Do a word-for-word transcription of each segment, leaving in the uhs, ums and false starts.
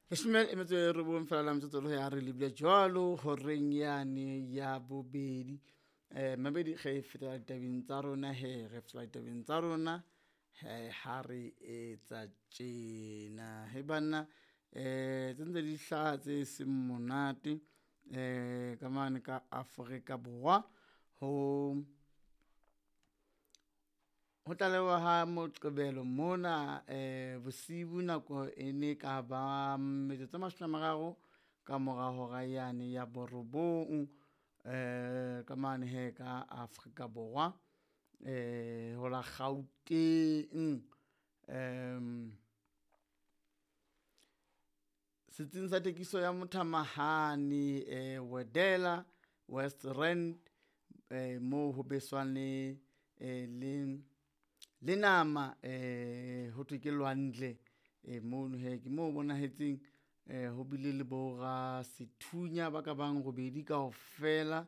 Leshome e metso e robong fela la metsotso le ya re lebile jwalo horeng yane ya bobedi. Eh mabedi ge fetela ditabeng tsa rona he re fetela ditabeng tsa rona he ha re etsa tjena. He banna eh tse ntse di hlaha tse seng monate eh ka mane ka Afrika Borwa ho ho tlalewa ha Moqebelo mona eh bosibu nako e ne ka ba metsotso e mashome a mararo ka mora hora yane ya borobong eh ka mane he ka Afrika Borwa eh ho la Gauteng. Um setsing sa thekiso ya mothamahane eh Wedela West Rand eh moo ho beswang le eh le le nama eh ho thwe ke lwandle eh mono hee ke mo bonahetseng eh ho bile le bo rasethunya ba ka bang robedi kaofela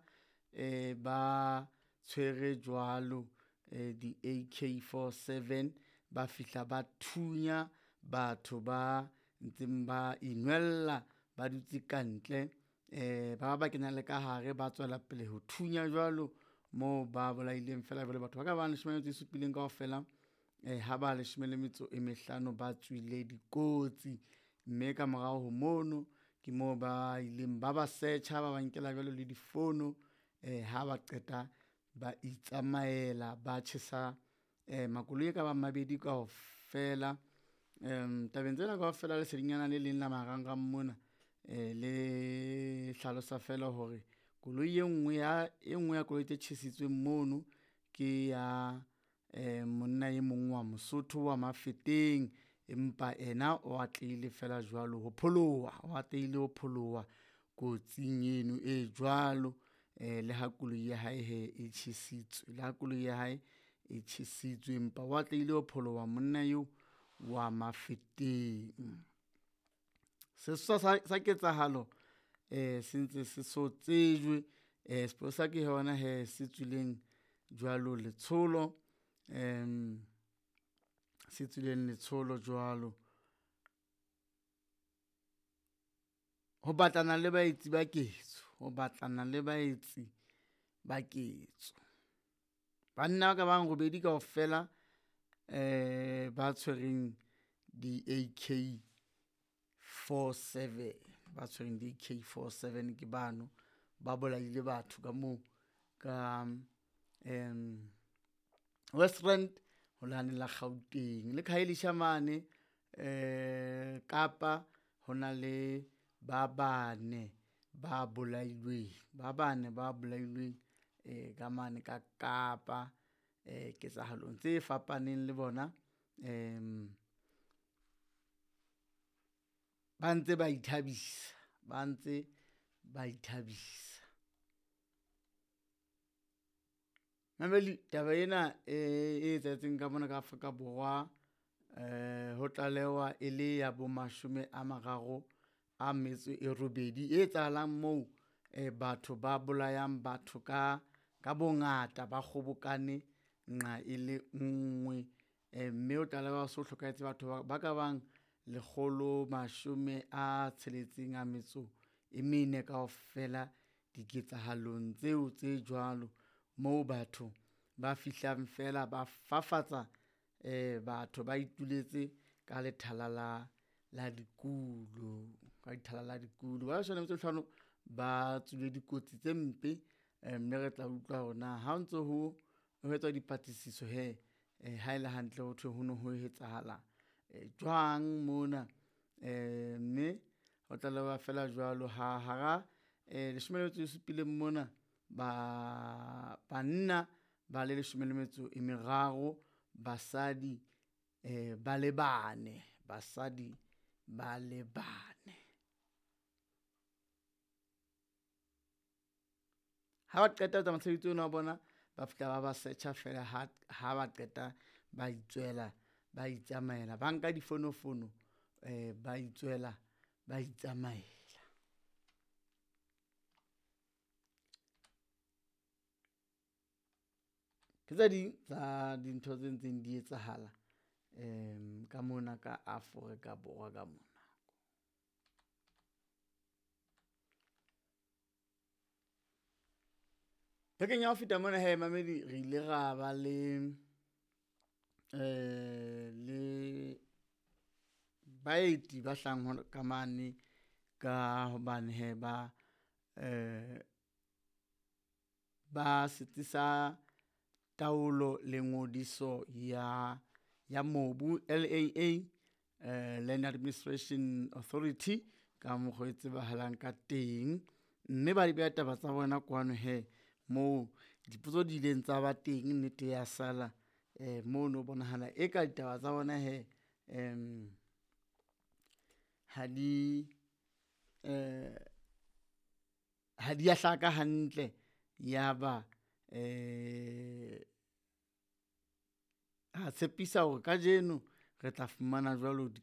eh ba tshwere jwalo eh di A K forty-seven ba fihla ba thunya batho ba ntseng ba inwella ba dutse kantle eh ba ba kena le ka hare ba tswela pele ho thunya jwalo moo ba bolaileng fela jwale batho ba ka bang leshome le metso e supileng kaofela eh ha ba leshome le metso e mehlano ba tswile dikotsi. Mme ka morao ho mono ke moo ba ileng ba ba search-a ba ba nkela jwalo le difono eh ha ba qeta ba itsamaela ba tjhesa eh makoloi e ka bang mabedi kaofela. Um tabeng tsena kaofela lesedinyana le leng la marangrang mona eh le hlalosa fela hore koloi e nngwe ya e nngwe ya koloi tse tjhesitsweng mono ke ya eh monna e mong wa Mosotho wa Mafeteng, empa ena o atlehile fela jwalo ho pholoha, o atlehile ho pholoha kotsing eno e jwalo eh le ha koloi ya hae he e tjhesitswe, le ha koloi ya hae e tjhesitswe empa o atlehile ho pholoha monna eo wa Mafeteng. Sesosa sa, sa ketsahalo eh se ntse se so tsejwe eh sepolesa ke yona he se tswileng jwalo letsholo em se tswileng letsholo jwalo ho batlana le baetsi ba ketso, ho batlana le baetsi ba ketso. Banna ba ka bang robedi kaofela eh ba tshwereng di A K forty-seven, ba tshwereng di A K forty-seven ke bano ba bolaile batho ka moo ka um West Rand ho lane la Gauteng le Khayelitsha mane eh Kapa ho na le ba bane ba bolailweng, ba bane ba bolailweng eh ka mane ka Kapa eh ketsahalong tse fapaneng le bona em ba ntse ba ithabisa, ba ntse ba ithabisa. Mameli taba ena e e etsahetseng ka mona ka Afrika Borwa eh ho tlalewa e le ya bo mashome a mararo a metso e robedi e etsahalang moo eh batho ba bolayang batho ka ka bongata ba kgobokane nqa e le nngwe eh mme o tlalewa so hlokahetse batho ba, ba ka bang lekgolo mashome a tsheletseng a metso e mene kaofela diketsahalong tseo tse jwalo moo batho ba fihlang fela ba fafatsa eh batho ba ituletse ka lethala la la dikulo, ka lethala la dikulo. Ba leshome le metso e mehlano ba tswile dikotsi tse mpe eh mme re tla utlwa hore na ha ntso ho ho etswa dipatlisiso he eh ha ele hantle ho thwe ho no ho etsahala eh jwang mona eh mme ho tlalewa fela jwalo ha hara eh leshome le metso e supileng mona ba banna ba le leshome le metso e meraro, basadi eh ba le bane, basadi ba le bane. Ha ba qeta ho etsa mosebetsi ona wa bona ba fihla ba ba search-a fela ha ha ba qeta ba itswela ba itsamaela ba nka difonofono eh ba itswela ba itsamaela. Ke tse ding tsa dintho tse ntseng di etsahala um ka mona ka Afrika Borwa ka mona. Bekeng ya ho feta mona he mamedi re ile ra ba le um le baeti ba hlahang ka mane ka hobane hee ba um ba setsi sa taolo le ngodiso ya ya mobu L_A_A, Land Administration Authority ka mokgwa o tsebahalang ka teng. Mme ba di beha taba tsa bona kwano hee moo dipotso di ileng tsa ba teng nnete ya sala mono ho bonahala eka ditaba tsa bona hee ha di ha di ya hlaka hantle. Ya ba ra tshepisa hore kajeno re tla fumana jwalo di.